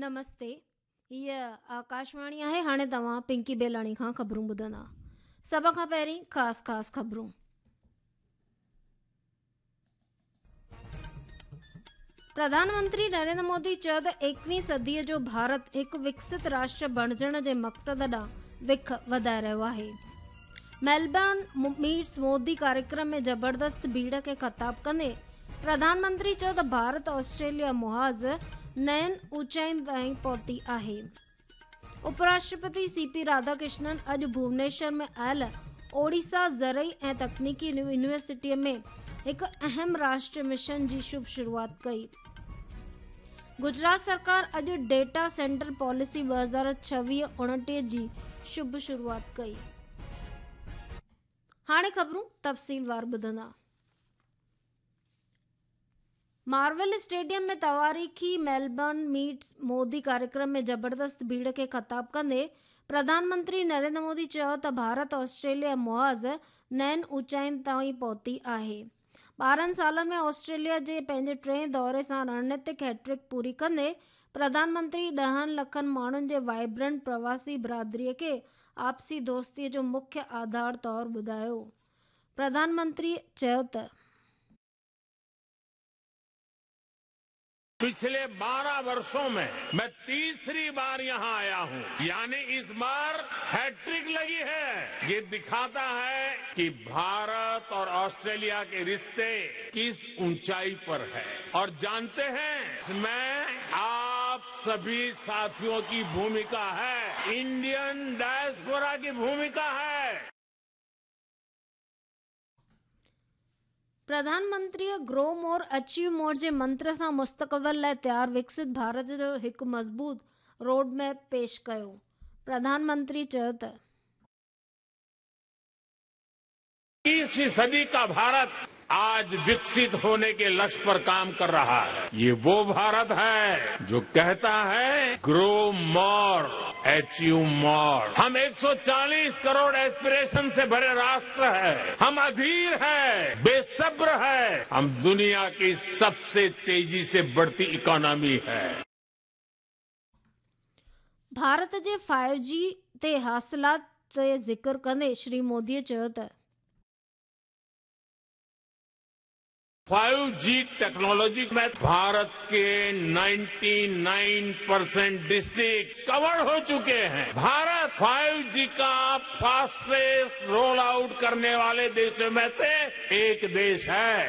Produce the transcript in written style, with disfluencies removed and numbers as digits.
نمستي، هيء آڪاشواڻي آهي. هاڻي توهان پنڪي بيلاڻي کان خبرون ٻڌندا. سڀ کان پهرين خاص خاص خبرون. پرڌان منتري نريندر مودي چيو ته ايڪويهين صديء جو ڀارت هڪ وڪست راشٽر بڻجڻ جي مقصد ڏانهن وک وڌائي رهيو آهي. ميلبرن ميٽس مودي ڪاريڪرم ۾ زبردست ڀيڙ کي خطاب ڪندي پرڌان منتري چيو ته ڀارت آسٽريليا محاذ نين اوچائين تائين پهتي آهي. اپراشٽرپتي سي پي راڌاڪرشنن اڄ ڀونيشور ۾ آيل اوڙيسا زرعي ۽ تڪنيڪي يونيورسٽيء ۾ هڪ اهم راشٽري مشن جي شڀ شروعات ڪئي. گجرات سرڪار اڄ ڊيٽا سينٽر پاليسي 2026-29 جي شڀ شروعات ڪئي. هاڻي خبرون تفصيلوار ٻڌندا. مارول اسٽيڊيم ۾ تواريخي ميلبرن ميٽس مودي ڪاريڪرم ۾ زبردست ڀيڙ کي خطاب ڪندي پرڌان منتري نريندر مودي چيو ته ڀارت آسٽريليا محاذ نين اوچائين تائين پهتي آهي. 12 سالن ۾ آسٽريليا جي پنهنجي ٽئين دوري سان رڻنيتڪ هيٽرڪ پوري ڪندي پرڌان منتري ڏهن لکن ماڻهن جي وائبرنٽ پرواسي برادري کي آپسي دوستي جو مکيه آڌار طور ٻڌايو. پرڌان منتري چيو ته. پڇلي 12 ورشون مين مين تيسري بار يهان آيا هون يعني اس بار هيٽرڪ لگي هي يي دکاتا هي ڪي ڀارت اور آسٽريليا ڪي رشتي ڪس اونچائي پر هي اور جانتي هين اس مين آپ سڀي ساٿيون ڪي ڀوميڪا هي انڊين ڊائسپورا ڪي ڀوميڪا هي. پرڌان منتريء گرو مور اچيو مور جي منتر سان مستقبل لاء تيار وڪست ڀارت جو هڪ مضبوط روڊ ميپ پيش ڪيو. پرڌان منتري چيو ته. اڪيسوين صدي ڪا ڀارت آج وڪست هوني ڪي لڪش پر ڪام ڪر رها هي. يي وو ڀارت هي جو ڪهتا هي گرو مور اچيو مور. هم 140 ڪروڙ ايسپيريشن سي ڀري راشٽر هي. هم اڌير هي، بي صبر هي. هم دنيا ڪي سب سي تيزي سي بڙهتي اڪانومي هي. ڀارت جي فائيو جي تي حاصلات تي ذڪر ڪندي شري مودي چيو ته. فائيو جي ٽيڪنالاجي ۾ ڀارت ڪي 99 پرسنٽ ڊسٽرڪٽ ڪور هو چڪي هين. ڀارت فائيو جي ڪا فاسٽيسٽ رول آئوٽ ڪرني والي ديشون ۾ سي ايڪ ديش هي.